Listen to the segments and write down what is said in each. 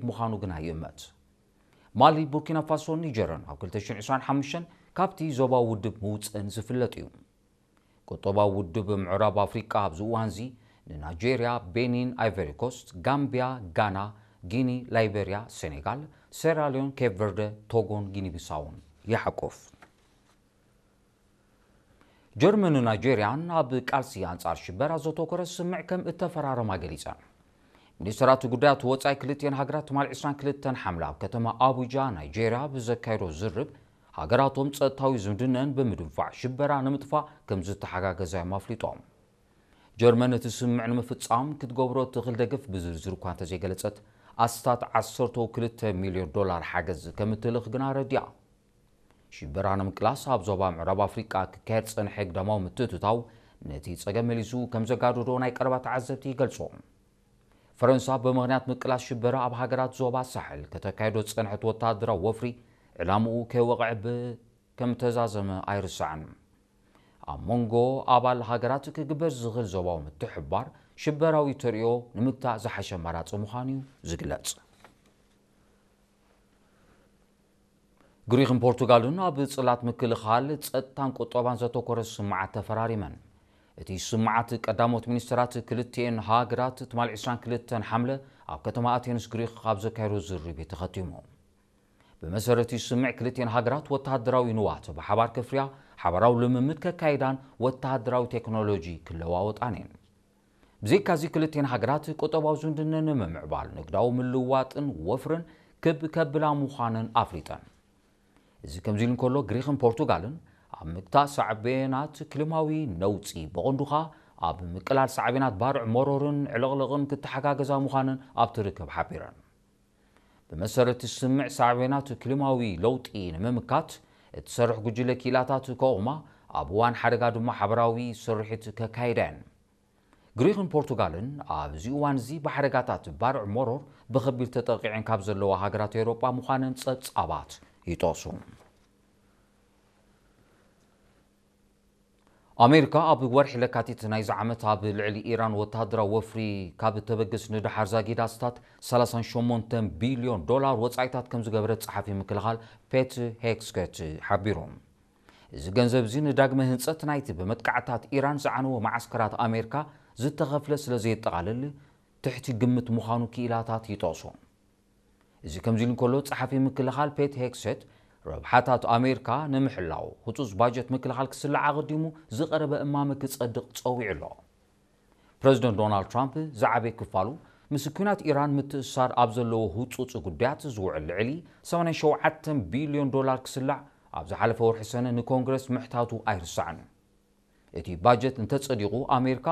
ምዃኑ ግና ይእመት። ማሊ፣ ቡርኪና ፋሶን ኒጀርን ኣብ ክልተ ሽሕን ዕስራን ሓሙሽተን ካብቲ ዞባዊ ውድብ ምውፅእን ዝፍለጥ እዩ። ቁጠባዊ ውድብ ምዕራብ ኣፍሪቃ ኣብዚ እዋንዚ ንናይጄርያ፣ ቤኒን፣ ኣይቨሪ ኮስት፣ ጋምቢያ፣ ጋና፣ ጊኒ፣ ላይቤርያ፣ ሴኔጋል፣ ሴራሊዮን፣ ኬፕ ቨርደ፣ ቶጎን ጊኒ ቢሳውን ይሓቁፍ። ጀርመንን ናይጄርያን ኣብ ቃልሲ ኣንጻር ሽበራ ዘተኮረ ስምምዕ ከም እተፈራረማ ገሊጸን። ሚኒስትራት ጉዳያት ወጻኢ ክልቲኤን ሃገራት ትማሊ ዕስራን ክልተን ሓምለ ኣብ ከተማ ኣቡጃ ናይጄርያ ብዘካየዶ ዝርብ፣ ሃገራቶም ጸጥታዊ ዝምድነን ብምድንፋዕ ሽበራ ንምጥፋእ ከም ዝተሓጋገዛ እዮም ኣፍሊጦም። ጀርመን እቲ ስምምዕ ንምፍጻም ክትገብሮ እትኽእል ደገፍ ብዝርዝር እኳ እንተዘይገለጸት፣ ኣስታት ዓሰርተ ክልተ ሚልዮን ዶላር ሓገዝ ከም እትልእኽ ግና ኣረዲኣ። ሽበራ ንምቅላስ ኣብ ዞባ ምዕራብ ኣፍሪቃ ክካየድ ዝጸንሐ ግዳማዊ ምትእትታው ነቲ ጸገም መሊሱ ከም ዘጋደዶ ናይ ቀረባ ተዓዘብቲ ይገልጹ። ፈረንሳ ብምኽንያት ምቅላስ ሽበራ ኣብ ሃገራት ዞባ ሳሕል ከተካይዶ ዝጸንሐት ወተሃደራዊ ወፍሪ ዕላምኡ ከይወቕዐ ብ-፣ ከም ተዛዘመ ኣይርሳዕን። ኣብ መንጎ ኣባል ሃገራት ክግበር ዝኽእል ዞባዊ ምትሕብባር ሽበራዊ ተርእዮ ንምግታእ ዝሓሸ ኣማራጺ ምዃኑ እዩ ዝግለጽ። ግሪኽን ፖርቱጋልን ኣብ ጽላት ምክልኻል፣ ጸጥታን ቁጠባን ዘተኮረ ስምምዓት ተፈራሪመን። እቲ ስምምዓት ቀዳሞት ሚኒስትራት ክልቲኤን ሃገራት ትማሊ ዕስራን ክልተን ሓምለ ኣብ ከተማ ኣቴንስ ግሪኽ ኣብ ዘካየዶ ዝርብ እዩ ተኸቲሙ። ብመሰረት እቲ ስምምዕ ክልቲኤን ሃገራት ወተሃደራዊ ንዋት ብሓባር ከፍርያ፣ ሓባራዊ ልምምድ ከካይዳን ወተሃደራዊ ቴክኖሎጂ ክለዋወጣን እየን። ብዘይካዚ ክልቲኤን ሃገራት ቁጠባዊ ዝምድነን ንምምዕባል ንግዳዊ ምልውዋጥን ወፍርን ክብ ከብላ ምዃነን ኣፍሊጠን። እዚ ከምዚ ኢሉ እንከሎ፣ ግሪኽን ፖርቱጋልን ኣብ ምግታእ ሳዕቤናት ክሊማዊ ነውጺ፣ ብቐንዱ ኸኣ ኣብ ምቅላል ሳዕቤናት ባርዕ መሮርን ዕልቕልቕን ክተሓጋገዛ ምዃነን ኣብቲ ርክብ ሓቢረን። ብመሰረት ስምምዕ፣ ሳዕቤናት ክሊማዊ ለውጢ ንምምካት እትሰርሕ ጉጅለ ክኢላታት ከቑማ፣ ኣብ እዋን ሓደጋ ድማ ሓበራዊ ስርሒት ከካይዳ እየን። ግሪኽን ፖርቱጋልን ኣብዚ እዋን እዚ ብሓደጋታት ባርዕ መሮር ብኸቢድ ተጠቒዐን ካብ ዘለዋ ሃገራት ኤውሮጳ ምዃነን ጸብጻባት ይጠቕሱ። ኣሜሪካ ኣብ ወርሒ ለካቲት ናይዚ ዓመት ኣብ ልዕሊ ኢራን ወተሃደራዊ ወፍሪ ካብ እተበግስ ንደሓር ዛጊዳ ኣስታት ሰላሳን ሸሞንተን ቢልዮን ዶላር ወጻኢታት ከም ዝገበረት ጸሓፊ ምክልኻል ፔት ሄግሴት ሓቢሩ። እዚ ገንዘብ እዚ ንዳግመ ህንጸት ናይቲ ብመጥቃዕታት ኢራን ዝዓነወ መዓስከራት ኣሜሪካ ዝተኸፍለ ስለ ዘየጠቓልል ትሕቲ ግምት ምዃኑ ክኢላታት ይጠቕሱ። እዚ ከምዚ ኢሉ እንከሎ፣ ጸሓፊ ምክልኻል ፔት ሄግሴት ረብሓታት ኣሜሪካ ንምሕላው ህጹጽ ባጀት ምክልኻል ክስላዕ ኣቐዲሙ ዝቐረበ እማመ ክጸድቕ ጸዊዑ ኣሎ። ፕረዚደንት ዶናልድ ትራምፕ ዝዓበየ ክፋሉ ምስ ኲናት ኢራን ምትእስሳር ኣብ ዘለዎ ህጹጽ ጉዳያት ዝውዕል ልዕሊ ሰማንያን ሸውዓተን ቢልዮን ዶላር ክስላዕ ኣብ ዝሓለፈ ወርሒ ሰነ ንኮንግረስ ምሕታቱ ኣይርሳዕን። እቲ ባጀት እንተጸዲቑ፣ ኣሜሪካ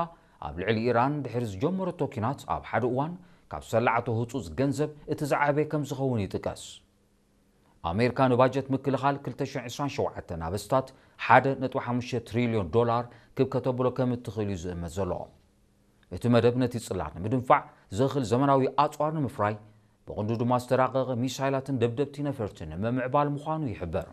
ኣብ ልዕሊ ኢራን ድሕሪ ዝጀመረቶ ኲናት ኣብ ሓደ እዋን ካብ ዝሰላዓቶ ህጹጽ ገንዘብ እቲ ዝዓበየ ከም ዝኸውን ይጥቀስ። ኣሜሪካ ንባጀት ምክልኻል ክልተ ሽሕን ዕስራን ሸውዓተን ኣበስታት ሓደ ነጥቢ ሓሙሽተ ትሪልዮን ዶላር ክብ ከተብሎ ከም እትኽእል እዩ ዝእመት ዘሎ። እቲ መደብ ነቲ ጽላት ንምድንፋዕ ዘኽእል ዘመናዊ ኣጽዋር ንምፍራይ፣ ብቕንዱ ድማ ዝተራቐቐ ሚሳይላትን ደብደብቲ ነፈርትን ንምምዕባል ምዃኑ ይሕበር።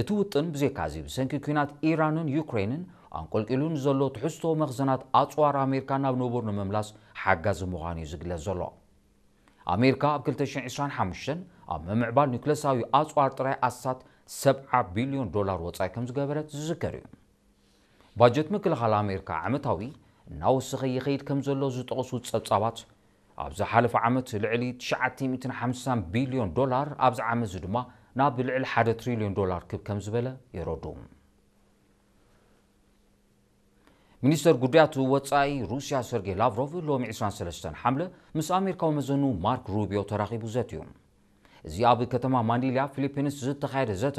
እቲ ውጥን ብዘይካዚ ብሰንኪ ኲናት ኢራንን ዩክሬንን ኣንቆልቂሉ ንዘሎ ትሕዝቶ መኽዘናት ኣጽዋር ኣሜሪካ ናብ ንቡር ንምምላስ ሓጋዚ ምዃኑ እዩ ዝግለጽ ዘሎ። ኣሜሪካ ኣብ ክልተ ሽሕን ዕስራን ሓሙሽተን ኣብ ምምዕባል ኑክለሳዊ ኣጽዋር ጥራይ ኣስታት ሰብዓ ቢልዮን ዶላር ወጻኢ ከም ዝገበረት ዝዝከር እዩ። ባጀት ምክልኻል ኣሜሪካ ዓመታዊ እናወሰኸ ይኸይድ ከም ዘሎ ዝጠቕሱ ጸብጻባት፣ ኣብ ዝሓለፈ ዓመት ልዕሊ ትሽዓተ ሚእትን ሓምሳን ቢልዮን ዶላር፣ ኣብዚ ዓመት እዚ ድማ ናብ ልዕሊ ሓደ ትሪልዮን ዶላር ክብ ከም ዝበለ የረድኡ። ሚኒስተር ጉዳያት ወጻኢ ሩስያ ሰርጌይ ላቭሮቭ ሎሚ ዕስራን ሰለስተን ሓምለ ምስ ኣሜሪካዊ መዘኑ ማርክ ሩቢዮ ተራኺቡ ዘትዩ። እዚ ኣብ ከተማ ማኒላ ፊሊፒንስ ዝተኻየደ ዘተ፣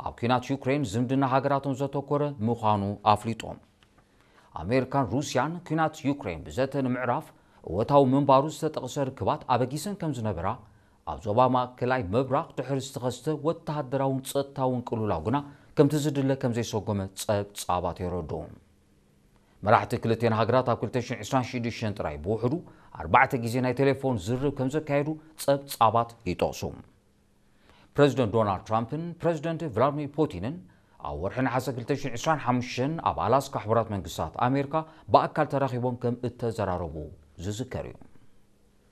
ኣብ ኲናት ዩክሬን ዝምድና ሃገራቶም ዘተኮረ ምዃኑ ኣፍሊጦም። ኣሜሪካን ሩስያን ኲናት ዩክሬን ብዘተ ንምዕራፍ እወታዊ ምንባሩ ዝተጠቕሰ ርክባት ኣበጊሰን ከም ዝነበራ፣ ኣብ ዞባ ማእከላይ ምብራቕ ድሕሪ ዝተኸስተ ወተሃደራውን ጸጥታውን ቅልውላው ግና ከምቲ ዝድለ ከም ዘይሰጎመ ጸብጻባት የረድኡ። መራሕቲ ክልቲኤን ሃገራት ኣብ ክልተ ሽሕን ዕስራን ሽዱሽተን ጥራይ ብውሕዱ ኣርባዕተ ግዜ ናይ ቴሌፎን ዝርርብ ከም ዘካየዱ ጸብጻባት ይጠቕሱ። ፕረዚደንት ዶናልድ ትራምፕን ፕረዚደንት ቭላድሚር ፑቲንን ኣብ ወርሒ ነሓሰ ክልተ ሽሕን ዕስራን ሓሙሽተን ኣብ ኣላስካ ሕቡራት መንግስታት ኣሜሪካ ብኣካል ተራኺቦም ከም እተዘራረቡ ዝዝከር እዩ።